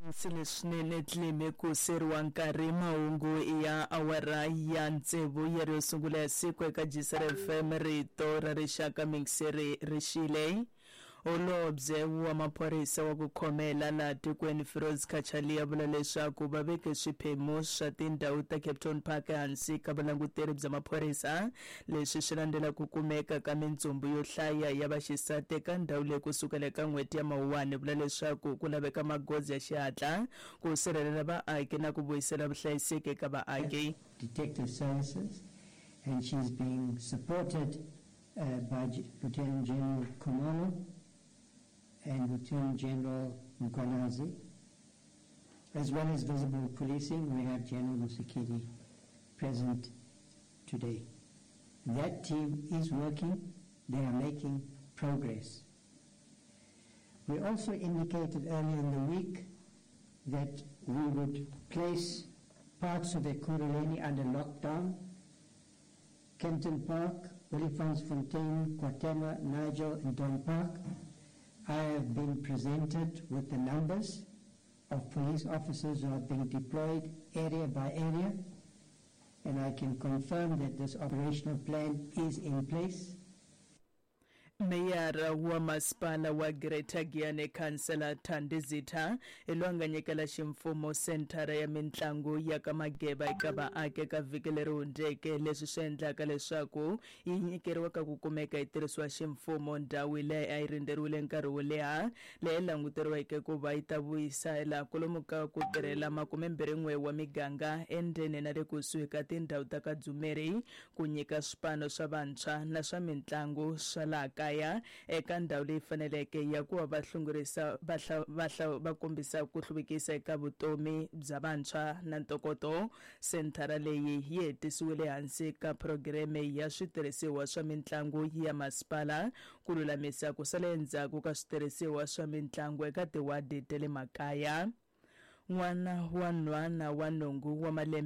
Leswinene tlime ku seriwa nkarhi mahungu ya awara ya tsevu ya ri yo sungula ya siku eka Gisere FM rito ra rixaka mingiseri rixile. Holobye wa maphorisa wa ku khomela laha tikweni Firoz Cachalia vula leswaku va veke swiphemu swa tindhawu ta Kempton Park ehansi ka vulanguteri bya maphorisa. Leswi swi landzela ku kumeka ka mintsumbu yo hlaya ya vaxisati eka ndhawu leyi kusukela eka n'hweti ya Mawuwani, vula leswaku ku laveka magoza ya xihatla ku sirhelela vaaki na ku vuyisela vuhlayiseki eka vaaki. Detective Services, and she's being supported by Lieutenant General Khumalo and Lieutenant General Mkhwanazi. As well as visible policing, we have General Mosikili present today. That team is working. They are making progress. We also indicated earlier in the week that we would place parts of Ekurhuleni under lockdown. Kempton Park, Olifantsfontein, KwaThema, Nigel and Dawn Park. I have been presented with the numbers of police officers who are being deployed area by area, and I can confirm that this operational plan is in place. Meyara wa masipala wa Greater Giyani Khansela Thandi Zitha hi loyi a nga nyikela ximfumo senthara ya mitlangu ya ka Mageba eka vaaki eka vhiki leri hundzeke, leswi swi endlaka leswaku yi nyikeriwa ka ku kumeka yi tirhisiwa ximfumo. Ndhawu leyi a yi rindzeriwile nkarhi wo leha, leyi languteriweke ku va yi ta vuyisela kwalomu ka ku tirhela 21 wa miganga endzeni na le kusuhi ka tindhawu ta ka Dzumeri, ku nyika swipano swa vantshwa na swa mintlangu swa laha kaya eka ndhawu leyi faneleke ya ku va va hlongorisa va va va kombisa ku hluvukisa eka vutomi bya vantshwa na ntokoto. Senthara leyi yi hetisiwile hansi ka phurogireme ya switirhisiwa swa mintlangu ya masipala ku lulamisa ku sala endzhaku ka switirhisiwa swa mintlangu eka tiwadi ta le makaya. N'wana wa nhwana wa nhungu wa malembe.